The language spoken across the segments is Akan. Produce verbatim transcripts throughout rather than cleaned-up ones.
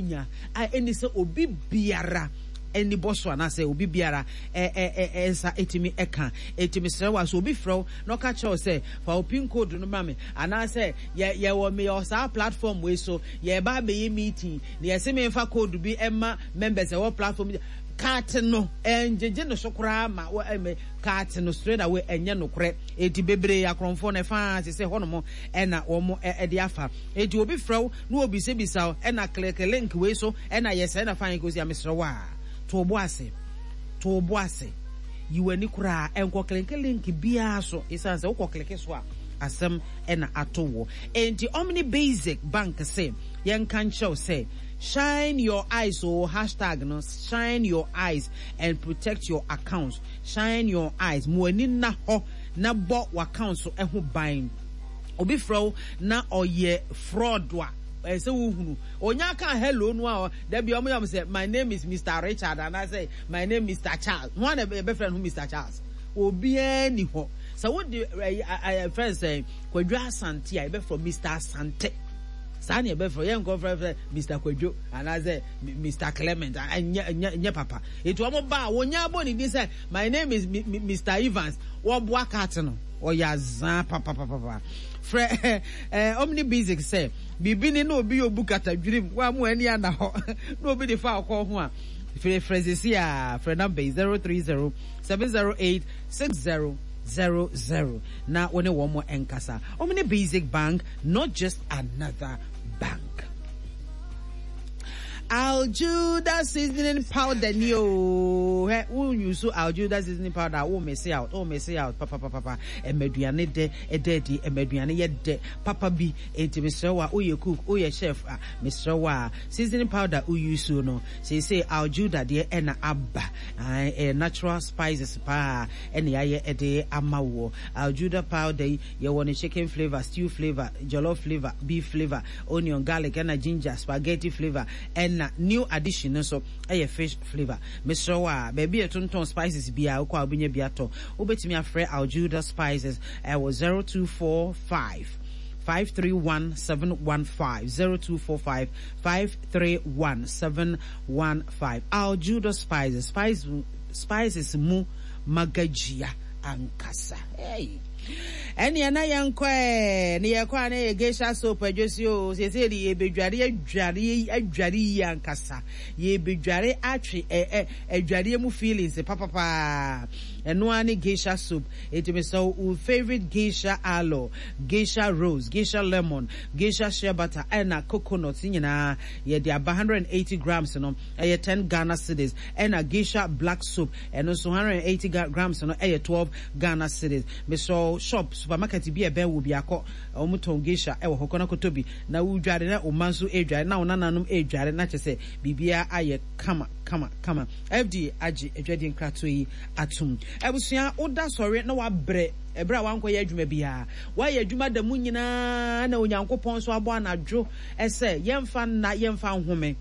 wonya a ɛni sɛ obi biara ani bɔ so anaasɛ obi biara nsa ɛtumi ɛka. Ɛti mesrɛ wo a, sɛ obi frɛ wo na ɔka kyerɛ wo sɛ fa wo PIN code no ma me, anaasɛ yɛwɔ meyɛ saa platform wei so, yɛba abɛyɛ meeting na yɛse memfa code bi ɛma members ɛwɔ platform kaate no, ɛngyegye no so koraa ma kaate no straight away, ɛnyɛ nokorɛ. Eti bebree akorɔmfoɔ no ɛfa sɛ sɛ hɔnom ɛna wɔn ɛde afa. Eti obi frɛ wo na obisabisa wo ɛna click link wei so ɛna yɛ sɛ ɛna fa yɛn kɔsi a, mesrɛ wo a, to bo ase, to bo ase, yi w'ani koraa, ɛnkɔ click link biara so, ɛsiane sɛ wokɔ click so a, asɛm ɛna ato wɔ. Enti Omni Basic Bank sɛ yɛnka nkyerɛw sɛ shine your eyes o, hashtag no shine your eyes and protect your accounts. Shine your eyes, mo ani na hɔ na bɔ w'account so ɛho ban. Obi frɛ wo na ɔyɛ fraud a, ɛsɛ wohunu onya ka hello no a, dabi ɔmo yɛ ɔmo sɛ my name is Mister Richard anaasɛ my name Mister Charles. Ho ana yɛbɛfrɛ no ho Mister Charles? Obiara ni hɔ sɛ wode ɛɛ ɛɛ fɛn sɛ Kwadwo Asante a, yɛbɛfrɛ Mister Asante saa ne yɛbɛfrɛ yɛn nkɔ frɛ Mister Kwadwo anaasɛ Mister Clement. Ɛnyɛ ɛnyɛ ɛnyɛ papa. Etu wɔn ba a wɔnya abɔ ne din sɛ my name is Mister Evans, wɔboa kaate no, ɔyɛ azaa papapapa. Frɛ ɛɛ Omni Basic sɛ biribi ne na obi yɛ obu kata dwirim wɔn a mo ani ana hɔ na obi de fa ɔkɔ ho a, frɛ frɛ sisi a, frɛ number yi zero three zero seven zero eight six zero zero zero na wɔne wɔn nkasa. Omni Basic Bank, not just another bank. Aljuda seasoning powder ni o. Hɛ, wo use Aljuda seasoning powder, wo miss out, wo miss out papa papa papa. Ɛmɛduane dɛ ɛdɛ di, ɛmɛduane yɛ dɛ papa bi. Enti mesrɛ wo a, woyɛ cook, woyɛ chef a, mesrɛ wo a, seasoning powder wo use no, seesei Aljuda deɛ ɛna aba. Ɛyɛ natural spices paa ɛna yɛayɛ ɛde ama wo. Aljuda powder yi, yɛwɔ ne chicken flavour, stew flavour, jollof flavour, beef flavour, onion, garlic ɛna ginger, spaghetti flavour, ɛna new addition no nso ɛyɛ fish flavour. Mesrɛ wo a, baabi a yɛtontɔn spices biara wokɔ a, wobɛnya bi atɔ. Wobɛtumi afrɛ Aljuda Spices ɛwɔ zero two four five five three one seven one five, zero two four five five three one seven one five. Aljuda Spices, spice, spices mu magagyia ankasa. Hey. Ɛneɛ na yɛnkɔ ɛ ne yɛkɔ a, na yɛ Geisha soap adwosi o. Seesei de yɛbɛdware, adware, adware yie ankasa. Yɛbɛdware atwe ɛ ɛ adwareɛ mu feelings papapaa. Ɛno ara ne Geisha soap. Enti mesɛ wo favorite Geisha aloe, Geisha rose, Geisha lemon, Geisha shea butter ɛna coconut nyinaa yɛde aba. one hundred eighty grams no ɛyɛ ten Ghana cedis, ɛna Geisha black soap ɛno nso one hundred eighty grams no ɛyɛ twelve Ghana cedis. Mesɛ shop, supermarket bi a ɛbɛn wo bi akɔ, wɔn tɔn Geisha ɛwɔ hɔ, kɔnɔ kɔtɔ bi na wodware na ɔma nso edware na ɔnananom edware na kyerɛ sɛ biribiara ayɛ kama kama kama. F D A agye adwadie nkratoɔ yi atum. Abusua, woda sɔre na wabrɛ ɛberɛ a wankɔyɛ adwuma biara, wayɛ adwuma da mu nyinaa na Onyankopɔn nso abɔ anadwo ɛsɛ yɛmfa nna, yɛmfa nhome.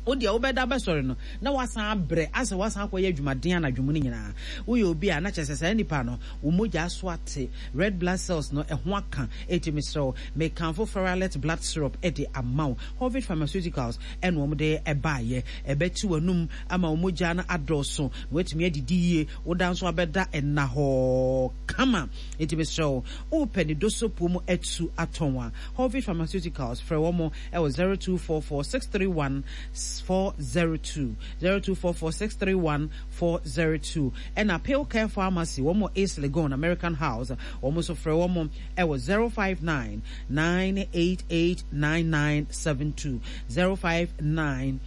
Wo deɛ wobɛda bɛsɔre no na wasan abrɛ asɛ wasan akɔyɛ adwumaden anadwo mu no nyinaa. Woyɛ obi a na kyerɛ sɛ saa nipa no wo mogya so ate, red blood cells no ɛho aka. Eti mesrɛ wo, mekamfo Ferralet blood syrup ɛde ama wo. Hovid Pharmaceuticals ɛna wɔn de ɛbaayɛ. Ɛbɛti w'anum ama wo mogya no adɔɔso na watumi adidi yie. Woda nso abɛda ɛna hɔ kama. Eti mesrɛ wo, wopɛ ne dosopuo mu atu atɔn a, Hovid Pharmaceuticals, frɛ wɔn ɛwɔ zero two four four six three one four zero two, zero two four four six three one four zero two. Ɛna Pill Care Pharmacy, wɔn wɔ East Legon, American House. Wɔn nso frɛ wɔn ɛwɔ zero five nine nine eight eight nine nine seven two, zero five nine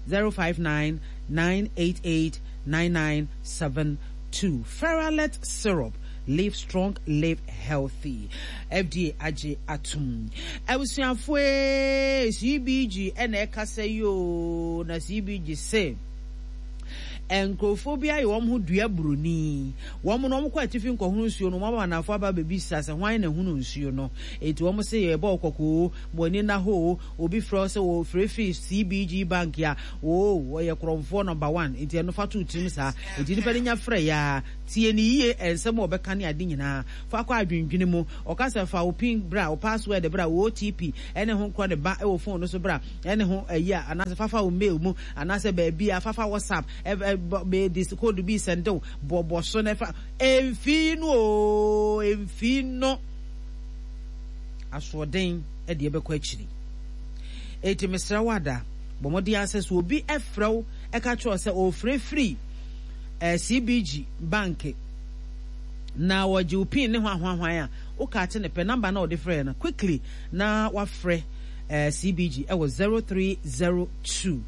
zero five nine nine eight eight nine nine seven two. Ferralet syrup, live strong, live healthy. F D A agye atum. Abusuafoɔ, C B G ɛna ɛkasa yi o, na C B G se Nkurɔfoɔ bi ayɛ wɔn ho dua buroni. Wɔn no, wɔkɔ atifi nkɔhono nsuo no, wɔn ama anafoɔ aba abɛbisa sɛ hwan na hunu nsuo no. Enti wɔn se yɛbɔ wo kɔkɔ oo, ma w'ani nna hɔ oo, obi frɛ wo sɛ wɔfrɛ firi C B G Bank a, oo, ɔyɛ korɔmfoɔ number one. Enti ɛno fa to wo tirim saa. Enti nipa no nya frɛ yɛ a, tie no yie, nsɛm a ɔbɛka ne ade nyinaa, fa kɔ adwendwene mu. Ɔka sɛ fa wo PIN bra, wo password bra, wo O T P ɛne ho korɔ ne ba wɔ phone no so bra, ɛne ho ayi a, anaasɛ fafa wo mail mu, anaasɛ baabi a fafa WhatsApp, ɛ code bi send wo, bɔbɔ so na ɛfa emfi no o, emfi no. Asoɔden ɛde ɛbɛkɔ akyiri. Eti mesrɛ wo ada, bɔ mmɔden asɛ so obi ɛfrɛ wo ɛka kyerɛ sɛ ɔfrɛ firi ɛɛ C B G Bank na wɔgye wo PIN ne ho ahoahwan a, woka ate ne pɛ number na ɔde frɛ no quickly na wafrɛ ɛɛ C B G ɛwɔ zero three zero two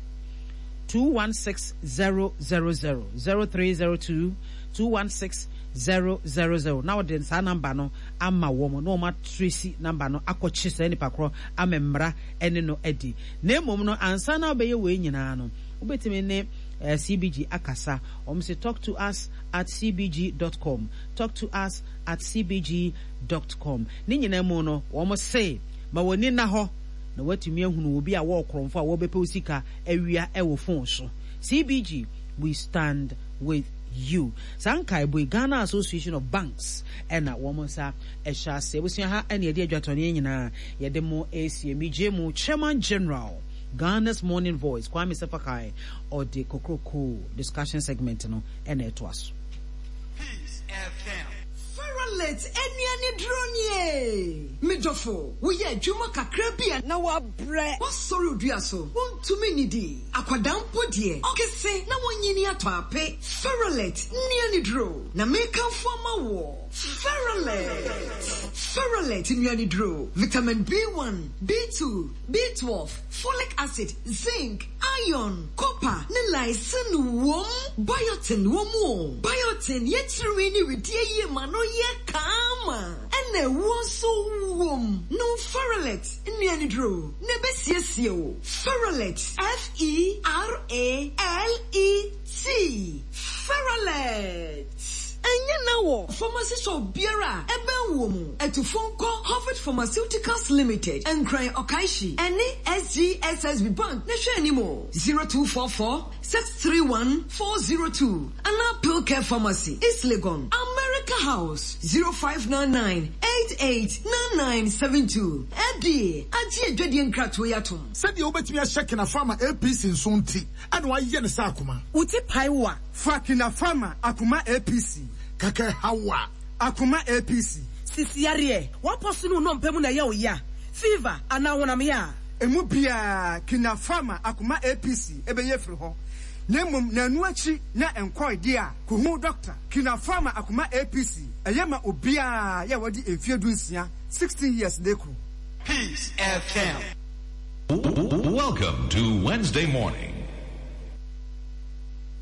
two one six zero zero zero, zero three zero two two one six zero zero zero, na wɔde saa number no ama wɔn na wɔn atrace number no akɔkye saa nipa korɔ ama mmara ɛne no adi. Na mmom no, ansa na wobɛyɛ wei nyinaa no, wobɛtumi ne uh, C B G akasa. Wɔn sɛ talk to us at C B G dot com, talk to us at C B G dot com. Ne nyinaa mu no, wɔn se ma wɔn ani na hɔ na watumi ahunu obi a wɔwɔ korɔmfo a wɔbɛpɛ wo sika awia ɛwɔ phone so. C B G, we stand with you. Saa nkaebo yi, Ghana Association of Banks ɛna wɔn nsa ɛhyɛ ase. Abusua, ha ɛna yɛde adwatɔneɛ nyinaa yɛde mo esie. Megye mu Chairman General, Ghana's Morning Voice, Kwame Sefa Kayi, ɔde kokroko discussion segment no ɛna ɛtoa so. Peace F M. Feralate anuane duro nie. Medɔfo, woyɛ adwuma kakra bi a na wabrɛ. Wasɔre odua so, wontumi nnidi. Akwadaa mpo deɛ, ɔkese na wɔnyini atɔ ape. Feralate nnuane duro na mekamfo ama wɔ. Feralate. Feralate nnuane duro. Vitamin B one, B two, B twelve, folic acid, zinc, iron, copper ne lysine wom. Biotin wɔ mu o. Biotin yɛ tirinwi ne wedeɛ yie ma no yɛ kaama. Ɛna ɛwoɔ nso wom. No Feralate nnuane duro na ɛbɛsiesie o. Feralate, F E R A L E T. Feralate. Ɛnyɛ na wɔ pharmacy shop biara a ɛbɛn wɔ mu. Atufo nkɔ Harvard Pharmaceuticals Limited, Nkran Okaishie, ɛne S G S S B Bank na hwɛ anim o. zero two four four six three one four zero two anaa Pillcare Pharmacy, East Legon, America House, zero five nine nine eight eight nine nine seven two. Ɛdeɛ agye adwadie nkratoɔ yi atom. Sɛdeɛ wobɛtumi ahyɛ Kinapharma A P C nso nti ɛna wayɛ ne sɛ akoma. Wo ti pae wo a, fa Kinapharma Akoma A P C. Kɛkɛ haw a, Akoma A P C. Sisiareɛ wapɔ so ne wo nɔmpɛ mu na ɛyɛ wo ya, fever anaa honam yɛ a, emu biara Kinapharma Akoma A P C ɛbɛyɛ firi hɔ. Na mmom n'anu akyi na nkɔe deɛ a, kohu dɔkta. Kinapharma Akoma A P C ɛyɛ ma obiara yɛ a wɔde mfeɛ du nsia, sixteen years de koro. Peace F M. Welcome to Wednesday morning.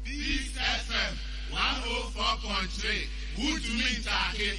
Peace F M one oh four point three. Wotumi ntaake.